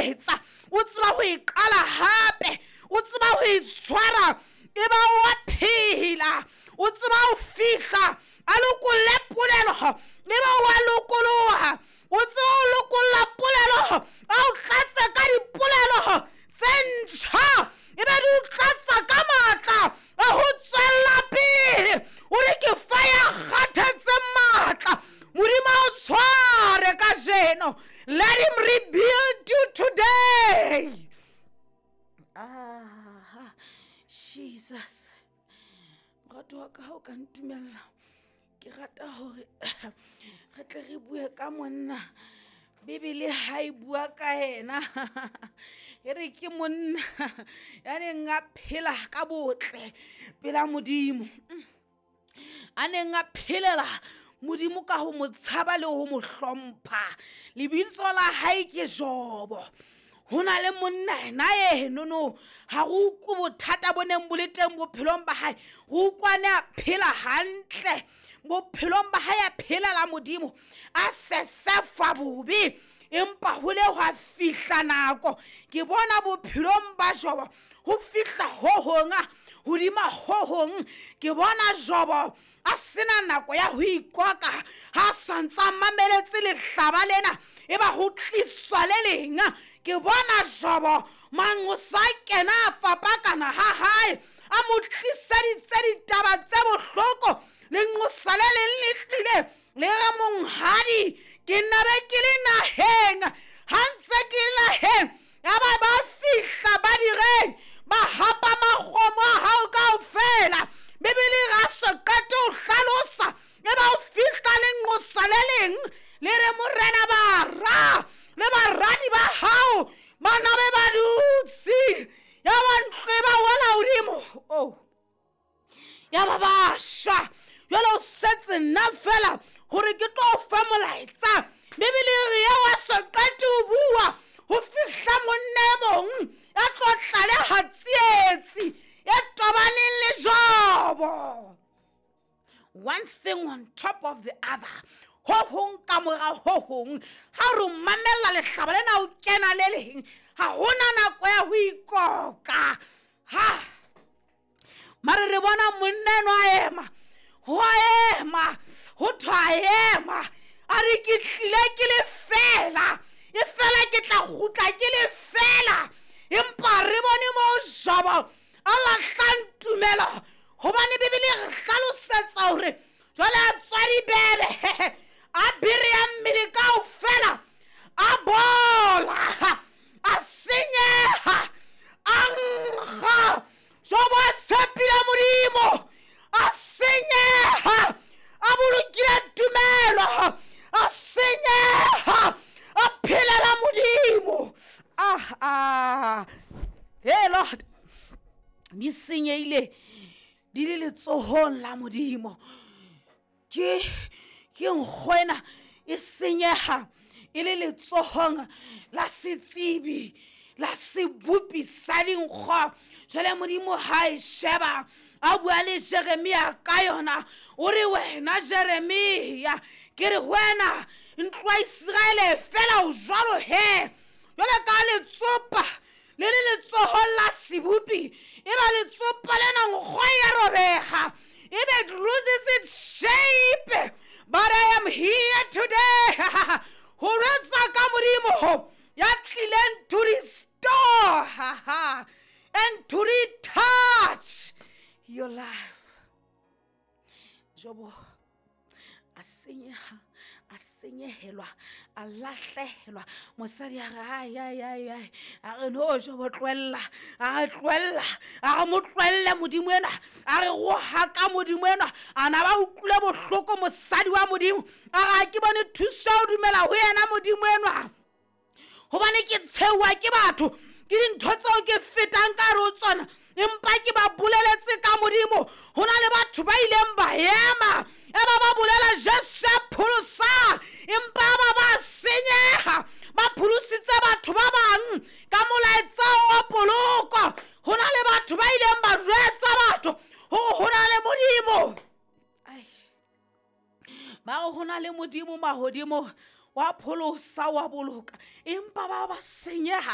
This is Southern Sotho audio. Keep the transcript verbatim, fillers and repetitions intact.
buseletsa, o tseba ho e qala hape, o tseba ho e tshwara e ba wa phela, o tseba ho fihla a lokolle polelo e ba wa lokoloha, o tseba ho lokolla polelo a o tlatse ka dipolelo tse ntjha, e be di o tlatsa ka matla a ho tswella pele. O re ke fa ya kgathetse matla, Modimo a o tshware kajeno. Let him rebuild you today. Ah, Jesus. Morato wa ka ha o ka ntumella, ke rata hore re tle re bue ka monna. Bibele ha e bua ka yena, e re ke monna ya neng a phela ka botle pela Modimo, a neng a phelela Modimo ka ho mo tshaba le ho mo hlompha. Lebitso la hae ke Jobo. Ho na le monna ena enono, ha re utlwe bothata bo neng bo le teng bophelong ba hae, re utlwa ne a phela hantle bophelong ba hae, a phelela Modimo, a sesefa bobe. Empa ho le hwa fihla nako, ke bona bophelong ba Jobo ho fihla ho hong hodima ho hong. Ke bona Jobo a sena nako ya ho ikoka, ha santsa mameletse lehlaba lena, e ba ho tliswa le leng. Ke bona Jobo manqosa a kena a fapakana ha hae, a mo tliseditse ditaba tse bohloko. Lenqosa le leng le tlile le re, monghadi, ke nna be ke le naheng, ha ntse ke le naheng ya ba ba fihla ba direng, ba hapa makgomo a hao kaofela. Bibele ga se qete ho hlalosa, e ba o fihla lenqosa le leng le re, morena, bara le baradi ba hao ba na be ba dutse, ya ba ntlo e ba wela hodimo, oh, ya ba ba shwa. Jwale o setse nna fela hore ke tlo fa molaetsa. Bibele re ya wa se qete ho bua, ho fihla monna e mong ya tlo tlaleha tsietsi e tobaneng le Jobo. One thing on top of the other, ho hong ka mora ho hong. Ha re mamella lehlaba lena o kena le leng, ha hona nako ya ho ikoka. Ha mare re bona monna enwa a ema, ho a ema, ho thwa a ema, a re ke tlile ke le fela, e fela ke tla kgutla ke le fela. Empa re bone moo Jobo a lahlang tumelo, hobane Bibele re hlalosetsa hore jwale a tswa dibebe, a bereya mmele kaofela, a bola, a senyeha, a nkga. Jobo a tshepile Modimo, a senyeha, a bolokile tumelo, a senyeha, a phelela Modimo. Ah, ah, hey Lord, di senyehile di le letsohong la Modimo. Ke ke nkgo ena e senyeha e le letsohong la setsebi, la sebopi sa dinkgo. Jwale Modimo ha e sheba, a bua le Jeremia ka yona, o re wena Jeremia, ke re wena ntlo ya Iseraele fela o jwalo he, jwale ka letsopa le le letsohong la sebopi, e ba letsopa lena nkgo ya robeha, e be it loses its shape. But I am here today ho retsa ka Modimo ya tlileng to restore and to retouch your life. Jobo a senyeha, a senyehelwa, a lahlehelwa. Mosadi a re, ai, ai, ai, ai, a re no Jobo tlohella, a re tlohella, a re mo tlohelle Modimo enwa, a re rohaka Modimo enwa. A na ba utlwile bohloko mosadi wa Modimo, a re ha ke bone thuso ya ho dumela ho yena Modimo enwa, hobane ke tshehuwa ke batho, ke dintho tseo ke fetang ka hare ho tsona, empa ke ba boleletse ka Modimo. Ho na le batho ba ileng ba ema, e ba ba bolela Jesu ya pholosang, empa ba ba senyeha, ba pholositse batho ba bang ka molaetsa wa poloko. Ho na le batho ba ileng ba jwetsa batho hore ho na le Modimo. Ai, ba re ho na le Modimo mahodimo wa pholosa wa boloka, empa ba ba senyeha.